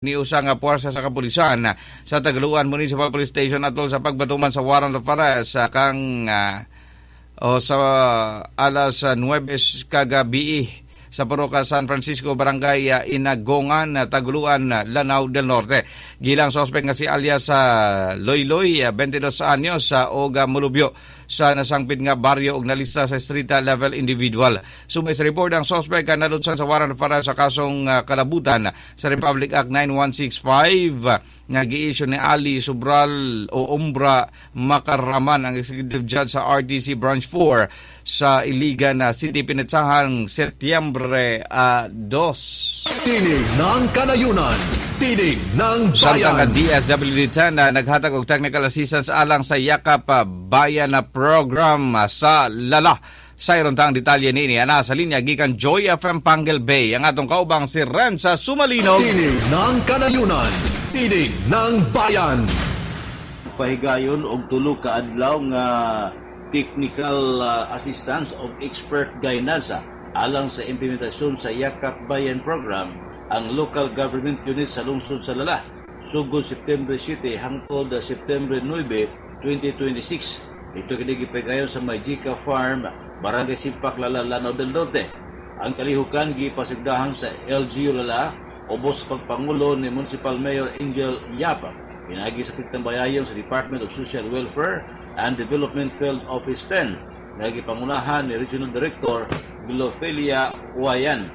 Ni usa nga puwersa sa kapulisan sa Taguluan Municipal Police Station atol sa pagbatuman sa warrant of arrest sa kang o sa alas 9 kagabi sa Purok San Francisco, Barangay Inagongan, Taguluan, Lanao del Norte. Gilang suspect nga si alias sa Loyloy, 22 anyos, sa og mulubyo sa nasangpit nga baryo og nalista sa street level individual. Subay sa report, ang suspect nalutsan sa warrant of arrest sa kasong kalabutan sa Republic Act 9165 nga gi-issue ni Ali Subral o Umbra Makaraman, ang Executive Judge sa RTC Branch 4 sa Iligan City pinatsahang Setyembre 2. Tinig ng Kanayunan. Tinig ng Samtang Bayan. Ang DSWD 10 na naghatag og technical assistance alang sa Yakap Bayan na program sa Lala. Sa iron tang detalye niini ana sa linya gikan Joy FM Panguil Bay ang atong kaubang si Renza Sumalinog. Tinig ng Kanayunan. Tinig ng Bayan. Pahigayon og 3 ka adlaw nga technical assistance og expert guidance alang sa implementasyon sa Yakap Bayan Program ang local government unit sa lungsod sa Lala sugod September 7 hangtod September 9, 2026. Ito kini gipahigayon sa Majika Farm, Barangay Simpak, Lala, Lanao del Norte. Ang kalihukan gipasigdahan sa LGU Lala ubos sa pagpangulo ni Municipal Mayor Angel Yap, pinaagi sa pagtambayayon sa Department of Social Welfare and Development Field Office 10 nga gipangunahan ni Regional Director Glofelia Wayan.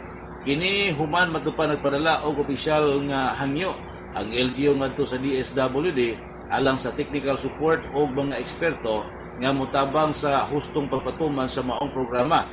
Kini human matupa nagpadala og opisyal nga hangyo ang LGU ngadto sa DSWD alang sa technical support og mga eksperto nga motabang sa hustong pagpatuman sa maong programa.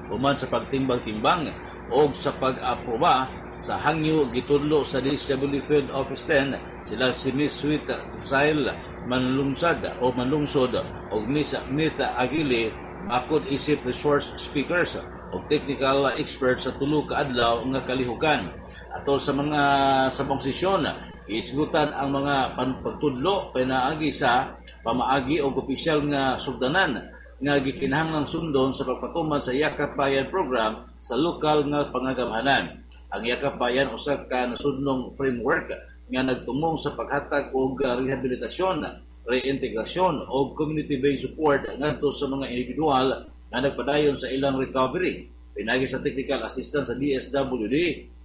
Human sa pagtimbang-timbang og sa pag-aproba sa hangyo, gitudlo sa DSWD Field Office 10 sila si Miss Sweet Zail Manlungsad o Manlungsod og Miss Mita Agili bakod isip resource speakers o technical experts sa 3 ka adlaw nga kalihukan. Atol sa mga sabong sesyon, isgutan ang mga pagtudlo pinaagi sa pamaagi og opisyal nga sugdanan nga gikinahanglang sundon sa pagpatuman sa Yakap Bayan Program sa lokal nga pangagamhanan. Ang Yakap Bayan usa ka nasudnong framework nga nagtumong sa paghatag og rehabilitasyon, reintegrasyon o community-based support ngadto sa mga individual nga nagpadayon sa ilang recovery. Pinaagi sa technical assistance sa DSWD,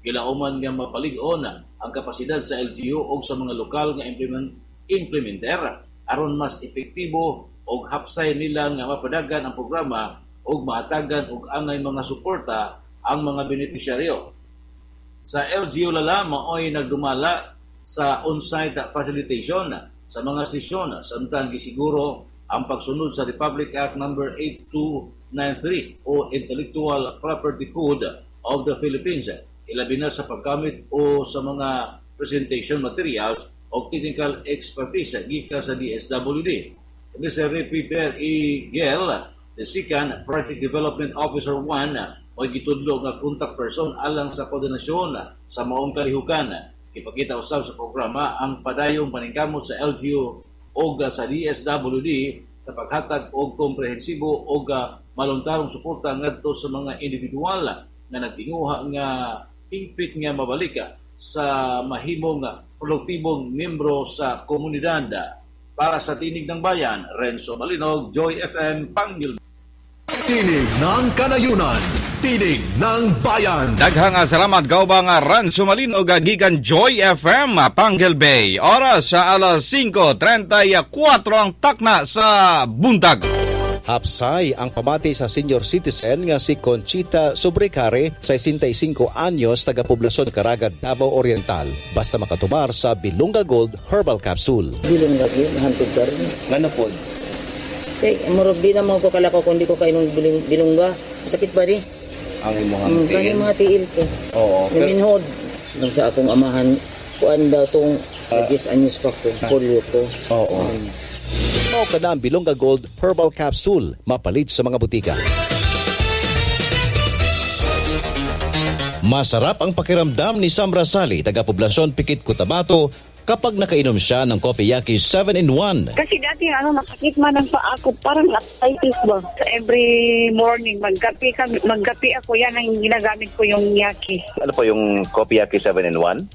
gilauman nga mapalig-on ang kapasidad sa LGU o sa mga lokal nga implementer aron mas epektibo og hapsay nila nga mapadagan ang programa og mahatagan og angay mga suporta ang mga benepisyaryo. Sa LGU Lala maoy nagdumala sa on-site facilitation sa mga sesyon samtang gisiguro ang pagsunod sa Republic Act Number 8293 o Intellectual Property Code of the Philippines, ilabi na sa paggamit o sa mga presentation materials o technical expertise gikan sa DSWD. Si Mr. Peter E. Gel, the second Project Development Officer 1, o gitudlo nga contact person alang sa koordinasyon sa maong kalihukan. Ipakita usab sa programa ang padayong paningkamot sa LGU o sa DSWD sa paghatag og komprehensibo og maluntarong suporta ngadto sa mga individual nga nagtinguha nga hingpit nga mabalik sa mahimong produktibong membro sa komunidad. Para sa Tinig ng Bayan, Renzo Malinog, Joy FM, Panguil. Tinig ng Kanayunan. Tinig ng Bayan. Daghang salamat, kaubang Renzo Malinog gikan Joy FM Panguil Bay. Oras sa alas 5:34 ang takna sa buntag. Hapsay ang pamati sa senior citizen nga si Conchita Sobrecare, 65 anyos, taga poblasyon Caraga, Davao Oriental. Basta makatumar sa Bilunga Gold Herbal Capsule. Dili man lagi, mahantog ka rin. Ngano pod? Eh, murag di na mo ko kalako kung di ko kainom bilungga. Masakit ba di? Ang imong tiil? tiil? Mga tiil ko. Naminhod. Nang sa akong amahan, kuan daw tong 10 anyos pa ko, polio ko. Mao ka na ang Bilonga Gold Herbal Capsule, mapalit sa mga butika. Masarap ang pakiramdam ni Sam Rasali, taga poblasyon Pikit, Cotabato, kapag nakainom siya ng Kopiyaki 7-in-1. Kasi dati ano, masakit man ang paa ko, parang arthritis ba? So every morning, magkape, kami, magkape ako, yan ang ginagamit ko, yung Yaki. Ano po yung Kopiyaki 7-in-1?